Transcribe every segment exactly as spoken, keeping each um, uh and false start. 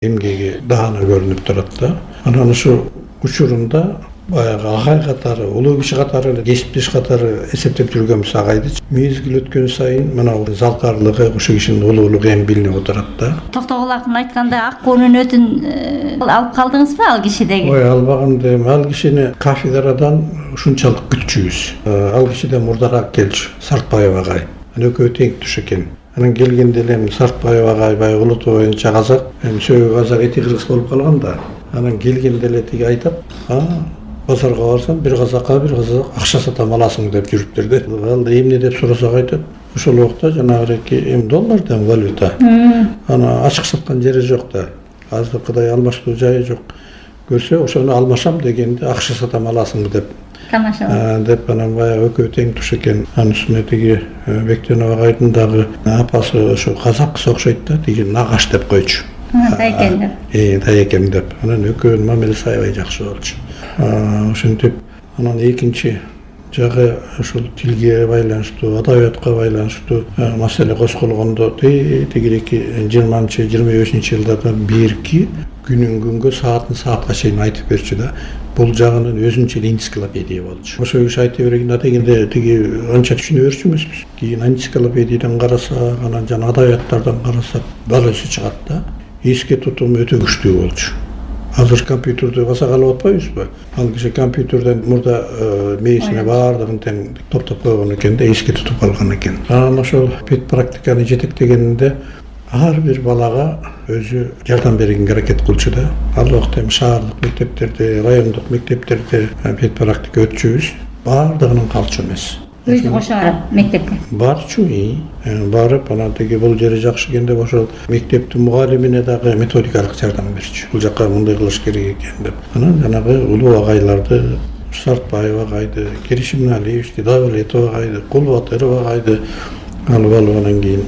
эмгеги даана көрүнүп турат да. Анан ушу учурунда баягы агай катары, улуу киши катары эле, кесиптеш катары эсептеп жүргөнбүз агайды. Мезгил өткөн сайын мына залкарлыгы, ушул кишинин улуулугу эми билинип отурат да. Токтогул акын айтканда ак көрүнөтүн алып калдыңызбы ал кишидеги? Ой, албагам дейм. Ал кишини кафедрадан ушунчалык күтчүбүз. Ал кишиден мурдараак келчү, Сартбаев агай. Анан экөө тең туш экен. Анан келгенде эле Сартбаев агай баягы улуту боюнча казак, эми сөөгү казак, эти кыргыз болуп калган да. Анан келгенде эле тиги айтат, а базарга барсам бир казакка бир казак акча сатам аласың деп жүрүптүр да. Ал да эмне деп сурасак айтат. Ошол убакта жанагыки эми доллардан валюта. Ана ачык саткан жери жок да. Азыркыдай алмаштуу жайы жок. Көрсө ошону алмашам дегенде акча сатам аласың деп. Тамаша. Деп анан баягы экөө тең туш экен. Анын үстүнө тиги Бектенов агайдын дагы апасы ошо казакка окшойт да, тиги нагаш деп койчу. Тайкем деп. Э, тайкем деп. Анан экөөнүн мамилеси аябай жакшы болчу. Ошентип анан экинчи жагы ушул тилге байланыштуу, адабиятка байланыштуу маселе козголгондо тигирээки жыйырманчы жыйырма бешинчи жылдарда бирки күнүн күнгө саатын саатка чейин айтып берчү да. Бул жагынын өзүнчө эле энциклопедия болчу. Ошо киши айтып бергенде дегенде тиги анча түшүнө берчү эмеспиз. Кийин энциклопедиядан карасак, анан жана адабияттардан карасак дал өзү чыгат да. Эске тутум өтө күчтүү болчу. Азыр компьютерди басак алып атпайбызбы? Ал киши компьютерден мурда мээсине баардыгын тең топтоп койгон экен да, эске тутуп алган экен. Анан ошол пет практиканы жетектегенде ар бир балага өзү жардам бергенге аракет кылчу да. Ал убакта эми шаардык мектептерде, райондук мектептерде пет практика өтчүбүз. Баардыгынын калчу эмес. Өзү кошо барып мектепке барчу, барып анан тиги бул жери жакшы экен деп ошол мектептин мугалимине дагы методикалык жардам берчү. Бул жака мындай кылыш керек экен деп. Анан жанагы улуу агайларды, Сартбаев агайды, Керишимналиевичти, Давлетов агайды, Кулбатыров агайды алып алып анан кийин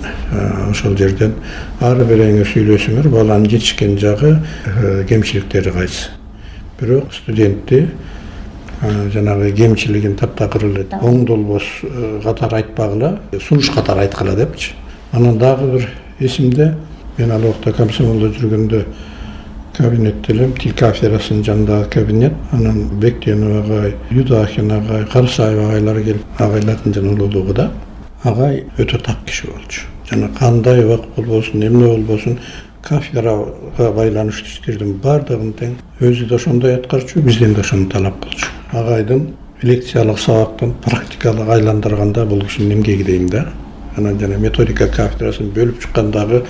ошол жерден ар бириңер сүйлөсүңөр, баланын жетишкен жагы, кемчиликтери кайсы. Бирок студентти жанагы кемчилигин таптакыр эле оң долбоос катары айтпагыла, сунуш катары айткыла депчи. Анан дагы бир эсимде, мен ал убакта комсомолдо жүргөндө кабинетте элем, тил кафедрасынын жанындагы кабинет. Анан Бектенов агай, Юдахин агай, Карсаев агайлар келип, агайлардын жана улуулугу да. Агай өтө так киши болчу. Жана кандай убак болбосун, эмне болбосун, кафедрага байланыштуу иштердин баардыгын тең өзү да ошондой аткарчу, бизден да ошону талап кылчу. Агайдын лекциялык сабактын практикалык айландырганда бул кишинин эмгеги дейм да. Анан жана методика кафедрасын бөлүп чыккандагы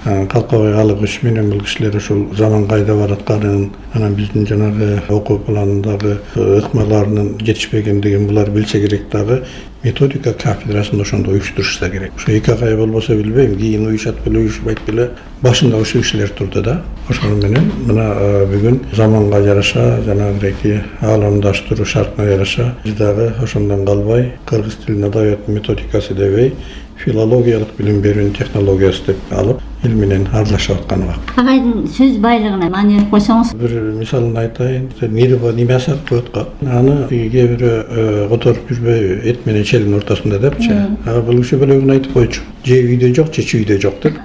Калкабай Алыгыч менен бул кишилер ушул заман кайда баратканын, анан биздин жанагы окуу планындагы ыкмаларынын жетишпегендигин булар билсе керек дагы, методика кафедрасын ошондо уюштурушса керек. Ошо эки агай болбосо билбейм, кийин уюшат беле, уюшпайт беле, башында ошол кишилер турду да. Ошону менен мына бүгүн заманга жараша, жанагы ааламдаштыруу шартына жараша биз дагы ошондон калбай кыргыз тилинин адабияттын методикасы дебей, филологиялык билим берүүнүн технологиясы деп алып, эл менен аралашып аткан убакыт. Агайдын сөз байлыгына маани берип койсоңуз. Бир мисалын айтайын. Нирба неме асап коет го. Аны кээ бирөө которуп жүрбөйбү, эт менен челдин ортосунда депчи. А бул киши бөлөгүн айтып койчу. Же үйдө жок, же чүйдө жок деп.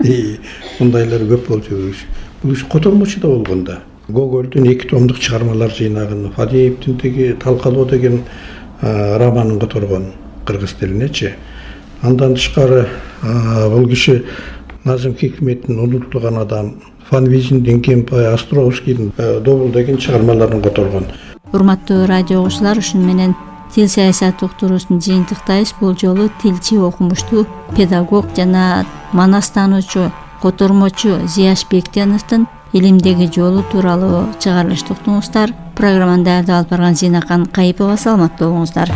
Мындайлар көп болчу бул киши. Бул киши котормочу да болгон да. Гогольдун эки томдук чыгармалар жыйнагын, Фадеевдин теги Талкалоо деген романын которгон кыргыз тилинечи. Андан тышкары бул киши Назым Хикметтин Унутулган адам, Фанвизиндин Кемпай, Островскийдин Добул деген чыгармаларын которгон. Урматтуу радио угуучулар, ушуну менен тил саясаты уктуруусун жыйынтыктайбыз. Бул жолу тилчи, окумуштуу, педагог жана манастануучу, котормочу Зияш Бектеновдун илимдеги жолу тууралуу чыгарылышты уктуңуздар. Программаны даярдап алып барган Зинакан Кайыпова. Саламаттуу болуңуздар.